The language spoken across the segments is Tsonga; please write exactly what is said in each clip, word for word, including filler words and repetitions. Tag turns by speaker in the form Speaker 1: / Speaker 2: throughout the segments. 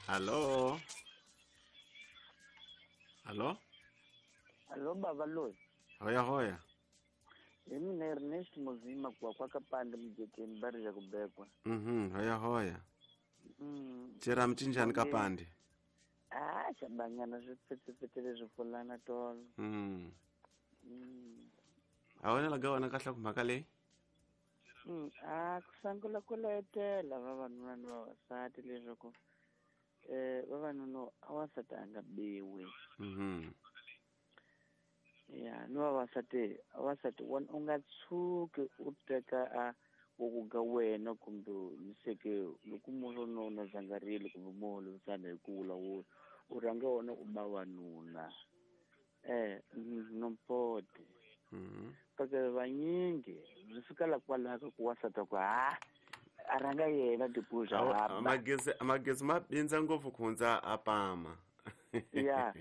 Speaker 1: Hallo. Hallo?
Speaker 2: Hallo baba loyi.
Speaker 1: Hoya hoya.
Speaker 2: Hi mina Ernest Muzima kwa kwa kapande mjekeni bari ya kubekwa.
Speaker 1: Mhm, hoya hoya.
Speaker 2: Mm.
Speaker 1: Chera mchinjani kapande.
Speaker 2: Ah, xabanyana swi pfetsepfetele swi pfulana tolo.
Speaker 1: Mhm.
Speaker 2: Mm.
Speaker 1: A wena la ga wena kahle ku mhaka leyi?
Speaker 2: Mm, ah, ku sungula ku letela vavanuna ni vavasati leswaku eh vavanuna a wansati a nga biwi.
Speaker 1: Mhm.
Speaker 2: Ya, ni vavasati, vavasati wena u nga tshuki u teka a ku ga wena kumbe niseke loko munhu no na zangarile kumbe munhu lovisana hi ku vulavula u rhanga wena u ba wanuna eh nompote.
Speaker 1: Mhm.
Speaker 2: Porque vanyingi swi fika la kwalaho ku wansati ku ha a rhanga yena tipuza
Speaker 1: ha magezi magezi ma bindza ngopfu ku hundza a pama.
Speaker 2: Ya.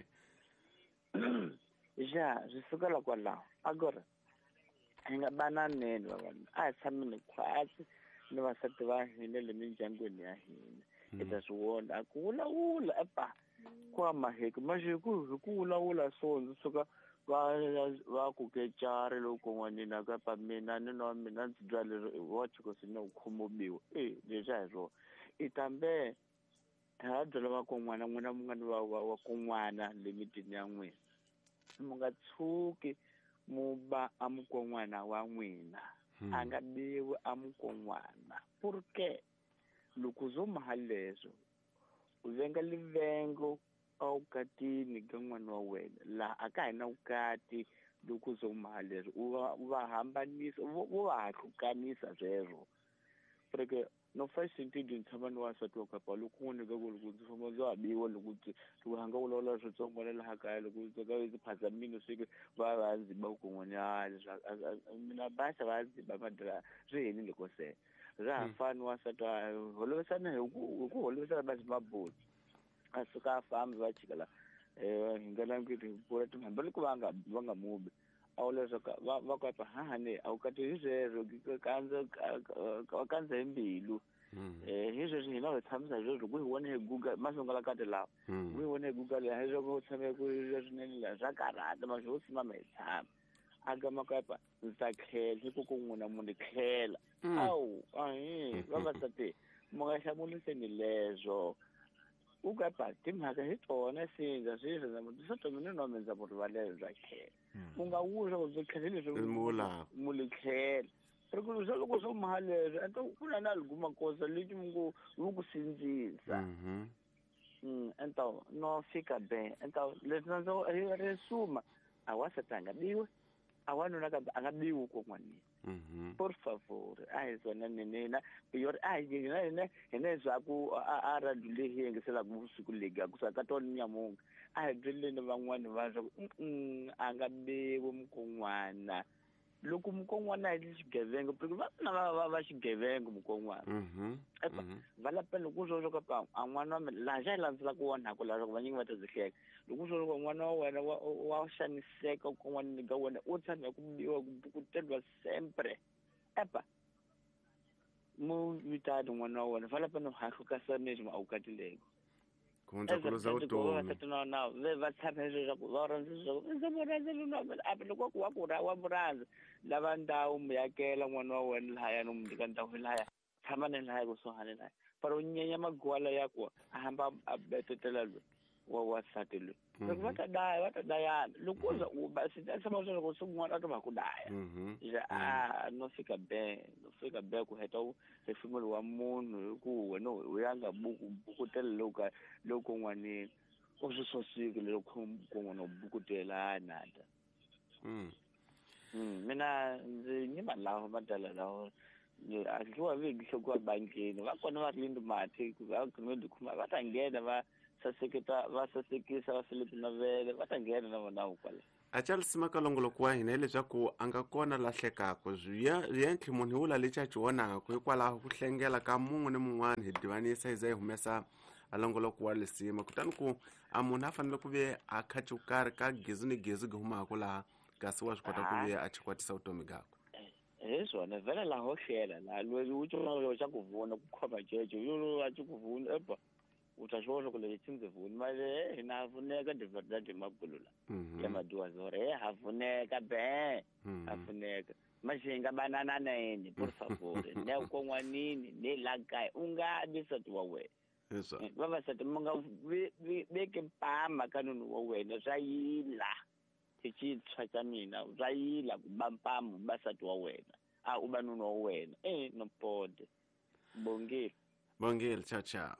Speaker 2: Ja, swi suka la kwalaho agora hi nga bananeni vavanuna a hi tshameni khwatsi ni vasati va hina le mindyangwini ya hina hi ta swi vona a ku vulavula epa ku amaheki maxi hi ku hi ku vulavula so ndzi suka va va ku kecari loko n'wanina kapa mina ni nwa mina ndzi dya leswi wa chikosi na ku khomobiwa e leswi a hi swona i tambe ha byela vakon'wana n'wina mi nga ni va va wa kon'wana le mitini ya n'wina mi nga tshuki mu ba a mukon'wana wa n'wina a nga biwi a mukon'wana porque loko zo maha leswo u venga livengo a wukatini ka n'wana wa wena laha a ka hi na vukati loko zo maha leswo u va u va hambanisa u va hahlukanisa sweswo porque no first intending tshama ni wansati wa kapa loko n'wini ka ku loko ndzi famba ndzi ha biwa loko loko hanga vulavula switsongo na laha kaya loko ndzi ka ndzi phazamile swi va va ndzi ba ku n'wanyana leswi mina basa va ndzi ba madra swi helile ko se ra ha fani wansati wa holovisana hi ku hi ku holovisana va maboti a suka a fambi va chika la eh hi nga languti hi bula timhamba loko va nga va nga mubi a wu leswaku va va ku hahani a wu kati hi sweswo kandza kandza hi mbilu eh hi sweswo hina hi tshamisa sweswo ku hi vone hi Google masungula kati lawa ku hi vone hi Google hi sweswo ku tshame ku swinene la swa karhata masho wo simama hi tshama a gama ku pa ndzi ta tlhela hi ku ku n'wina mu ni tlhela awu ahi vavasati mu nga hlamuliseni leswo u ka pa timhaka hi tona sindza sweswo ndza swo to mina no ndza ku rivalela bya tlhela u nga wuswa ku byi tlhela leswi mu li tlhela ri ku swa loko swo maha leswi a ku na na liguma kosa leti mu ngo wu ku sindzisa mm ento no fika be ento leswi ndza ri suma a wansati a nga biwi a wanuna kambe a nga biwi kon'wanini. Por favor a hi swona nina yor a hi hina hina hina swa ku a radio leyi hi yingiselaka vusiku legi ku saka tona nyamunga a hi byeleni van'wani va swa ku a nga biwi mukon'wana loko mukon'wana hi xigevenga porque va na va va va xigevenga mukon'wana va lapa loko swo swo ka a n'wana wa mina laha xa hi landzelaka wona ku laha vanyingi va ta byi hleka loko swo swo n'wana wa wena wa wa xaniseka kon'wana ka wena u tshama ku biwa ku bukuteriwa sempre epa mu vitani n'wana wa wena va lapa no hahlukasa mesmo a wukatileko
Speaker 1: ku hundza ku luza vutomi
Speaker 2: na va tshama leswaku va rhandza leswaku ndzi mu rhandza lona a loko ku wa ku ra wa mu rhandza lava ndhawu mu yakela n'wana wa wena lahaya no mu nyika ndhawu lahaya tshama ni lahaya kusuhani lahaya para u nyenya magwala ya ku a hamba a betetela loyi wa wansati loyi loko va ta daya va ta dayana loko u za u ba swi ta tshama leswaku swin'wana a ta va ku daya a no fika be no fika be ku heta hefemulo wa munhu hi ku wena u ya nga buku bukutela loko loko n'wanini u swi sosiki loko kun'wana u bukutela nada
Speaker 1: mm
Speaker 2: mina ndzi nyima lawo madala lawo a dliwa vigi hlokuwa bankini va kona va ri mati va kumbe kuma va ta nghena va saseketa va sasekisa va Philip Navele va ta nghena na vona kwala
Speaker 1: a Charles Makalongoloko wa hina leswaku a nga kona lahlekaka swi munhu wula lexi a xi vonaka hikwalaho ku hlengela ka mun'we ni mun'wana hi divanisa hi za hi humesa a longoloko wa lisima kutani ku a munhu a fanele ku ve a kha karhi ka gezu ni gezu gi humaka laha kasi wa swi kota ku ve a chikwatisa vutomi byakwe
Speaker 2: hi swona vhele laha ho hlela laha loyi u xa ku vona ku khoma jeje yo a xi ku vona eba U ta swi vona loko leyi tshindze male hina ha pfuneka de verdade magulula ya maduazore he ha pfuneka be ha pfuneka maxi nga banana neni por favor ne kon'wanini ne la kaya u nga bi nsati wa wena vavasati mi nga veki mpama ka nunu wa wena swa yila hi xintshwa xa mina swa yila ku ba mpama u ba nsati wa wena a u ba nunu wa wena e no pode bongile
Speaker 1: bongile ciao ciao.